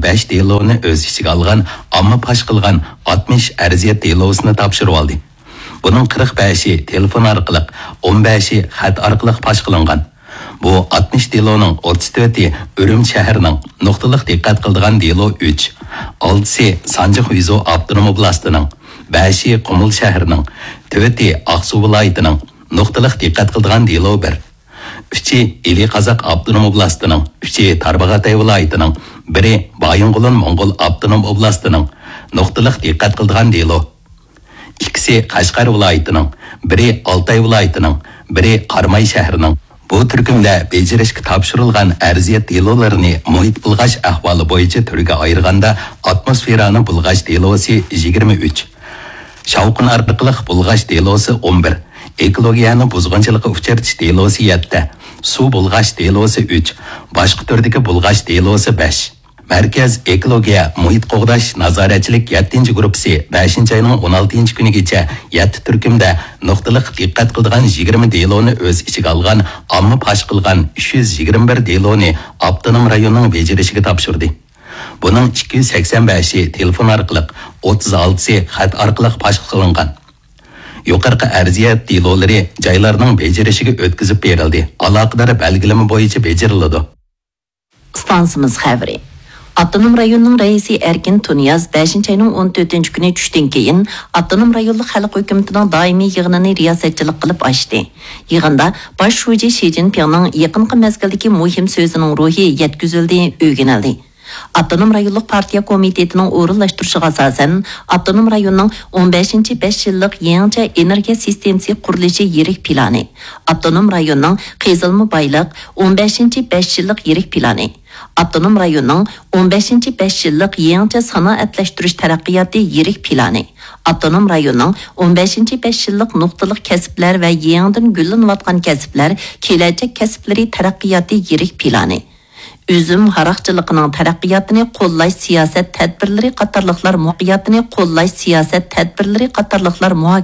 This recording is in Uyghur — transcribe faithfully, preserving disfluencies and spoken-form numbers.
بەش دېلونى ئۆز ئىچىگە ئالغان ئامما پاش قىلغان ئاتمىش ئەرزىيەت دېلوسىنى تاپشۇرۇۋالدى. بۇنىڭ قىرىق بەشى تېلېفون ئارقىلىق، ئون بەشى خەت ئارقىلىق پاش قىلىنغان. بۇ ئاتمىش دېلونىڭ ئوتتۇز تۆتى ئۈرۈمچى شەھىرىنىڭ، نۇقتىلىق دىققەت قىلىدىغان دېلو ئۈچ، ئالتىسى سانجى خۇيزۇ ئاپتونوم ئوبلاستىنىڭ، بەشى قۇمۇل شەھىرىنىڭ، تۆتى ئاقسۇ ۋىلايىتىنىڭ، نۇقتىلىق دىققەت قىلىدىغان دېلو بىر، ئۈچى ئىلى قازاق ئاپتونوم ئوبلاستىنىڭ، ئۈچى تارباغاتاي ۋىلايىتىنىڭ، بىرى بايىنغولىن موڭغۇل ئاپتونوم ئوبلاستىنىڭ، نۇقتىلىق دىققەت قىلىدىغان دېلو. ئىككىسى قەشقەر ۋىلايىتىنىڭ، بىرى ئالتاي ۋىلايىتىنىڭ، بىرى قاراماي شەھىرىنىڭ. بۇ تۈركۈمدە بېجىرىشكە تاپشۇرۇلغان ئەرزىيەت دېلولىرىنى مۇھىت بۇلغاش ئەھۋالى بويىچە تۈرگە ئايرىغاندا، ئاتموسفېرانى بۇلغاش دېلوسى يىگىرمە ئۈچ، شاۋقۇن ئارقىلىق بۇلغاش دېلوسى ئون بىر، ئېكولوگىيەنى بۇزغۇنچىلىققا ئۇچرىتىش دېلوسى يەتتە، سۇ بۇلغاش دېلوسى ئۈچ، باشقا تۈردىكى بۇلغاش دېلوسى بەش. مەركەز ئېكولوگىيە مۇھىت قوغداش نازارەتچىلىك يەتتىنچى گۇرۇپپىسى بەشىنچى ئاينىڭ ئون ئالتىنچى كۈنىگىچە يەتتە تۈركۈمدە نۇقتىلىق دىققەت قىلىدىغان يىگىرمە دېلونى ئۆز ئىچىگە ئالغان ئامما پاش قىلغان ئۈچ يۈز يىگىرمە بىر دېلونى ئاپتونوم رايوننىڭ بېجىرىشىگە تاپشۇردى. بۇنىڭ ئىككى يۈز سەكسەن بەشى تېلېفون ئارقىلىق، ئوتتۇز ئالتىسى خەت ئارقىلىق پاش قىلىنغان. يۇقىرىقى ئەرزىيەت دېلولىرى جايلارنىڭ بېجىرىشىگە ئۆتكۈزۈپ بېرىلدى، ئالاقىدار بەلگىلىمە بويىچە بېجىرىلىدۇ. ئىستانسىمىز خەۋىرى. ئاپتونوم رايوننىڭ رەئىسى ئەركىن تۇنىياز بەشىنچى ئاينىڭ ئون تۆتىنچى كۈنى چۈشتىن كېيىن ئاپتونوم رايونلۇق خەلق ھۆكۈمىتىنىڭ دائىمىي يىغىنىنى رىياسەتچىلىك قىلىپ ئاچتى. يىغىندا باش شۇجى شى جىنپىڭنىڭ يېقىنقى مەزگىلدىكى مۇھىم سۆزىنىڭ روھى يەتكۈزۈلدى، ئۆگىنىلدى. ئاپتونوم رايونلۇق پارتىيە كومىتېتىنىڭ ئورۇنلاشتۇرۇشىغا ئاساسەن، ئاپتونوم رايوننىڭ ئون بەشىنچى بەش يىللىق يېڭىچە ئېنېرگىيە سىستېمىسى قۇرۇلۇشى يىرىك پىلانى، ئاپتونوم رايوننىڭ قېزىلما بايلىق ئون بەشىنچى بەش يىللىق يىرىك پىلانى، ئاپتونوم رايوننىڭ ئون بەشىنچى بەش يىللىق يېڭىچە سانائەتلەشتۈرۈش تەرەققىياتى يىرىك پىلانى، ئاپتونوم رايوننىڭ ئون بەشىنچى بەش يىللىق نۇقتىلىق كەسىپلەر ۋە يېڭىدىن گۈللىنىۋاتقان كەسىپلەر كېلەچەك كەسىپلىرى تەرەققىياتى يىرىك پىلانى، ئۈزۈم ھاراقچىلىقىنىڭ تەرەققىياتىنى قوللاش سىياسەت تەدبىرلىرى قاتارلىقلار مۇ-، تەرەققىياتىنى قوللاش سىياسەت تەدبىرلىرى قاتارلىقلار مۇھاكىمە